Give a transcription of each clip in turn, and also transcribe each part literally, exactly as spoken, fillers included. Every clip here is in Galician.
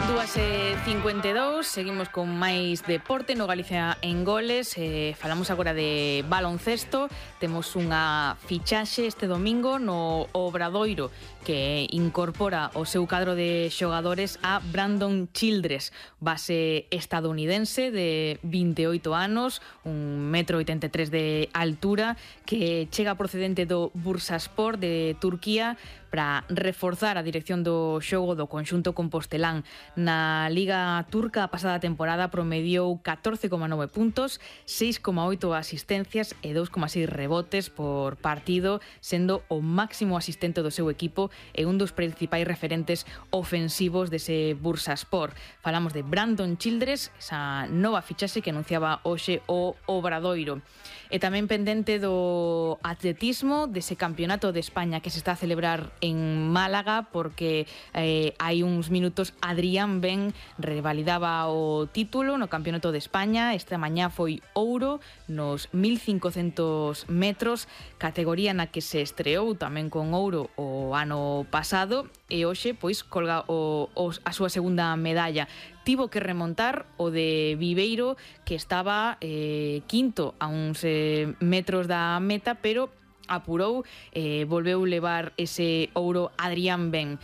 dúas e cincuenta e dous, seguimos con máis deporte no Galicia en Goles. eh, Falamos agora de baloncesto. Temos unha fichaxe este domingo no Obradoiro que incorpora o seu cadro de xogadores a Brandon Childress, base estadounidense de vinte e oito anos, un metro oitenta e tres de altura, que chega procedente do Bursaspor de Turquía para reforzar a dirección do xogo do conxunto compostelán. Na Liga Turca a pasada temporada promediou catorce coma nove puntos, seis coma oito asistencias e dous coma seis rebotes por partido, sendo o máximo asistente do seu equipo e un dos principais referentes ofensivos dese Bursaspor. Falamos de Brandon Childress, esa nova fichaxe que anunciaba hoxe o Obradoiro. E tamén pendente do atletismo, dese campeonato de España que se está a celebrar en Málaga, porque eh, hai uns minutos Adrián Ben revalidaba o título no campeonato de España. Esta mañá foi ouro nos mil cincocentos metros, categoría na que se estreou tamén con ouro o ano pasado, e hoxe pois colga o, o, a súa segunda medalla. Tivo que remontar o de Viveiro, que estaba eh, quinto a uns eh, metros da meta, pero apurou, eh, volveu levar ese ouro Adrián Ben.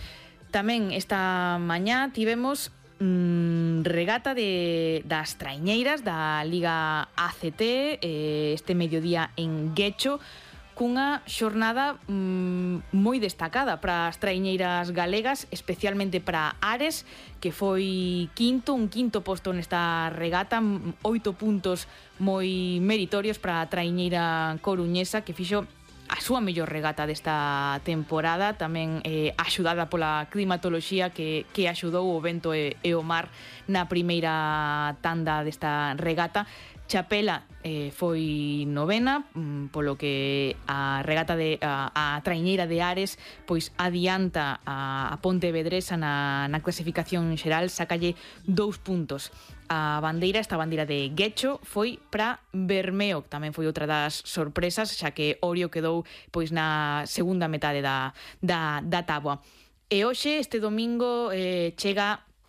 Tamén esta mañá tivemos mmm, regata de, das traiñeiras da Liga A C T, eh, este mediodía en Guecho, cunha xornada mmm, moi destacada para as traiñeiras galegas, especialmente para Ares, que foi quinto, un quinto posto nesta regata, oito puntos moi meritorios para a traiñeira coruñesa, que fixo a súa mellor regata desta temporada, tamén eh, axudada pola climatoloxía que, que axudou o vento e, e o mar na primeira tanda desta regata. Chapela eh, foi novena, mm, polo que a regata de a, a traiñeira de Ares pois adianta a, a Pontevedresa na, na clasificación xeral, sácalle dous puntos. A bandeira, esta bandeira de Guecho, foi para Bermeo, que tamén foi outra das sorpresas, xa que Orio quedou pois na segunda metade da, da, da táboa. E hoxe, este domingo, eh, chega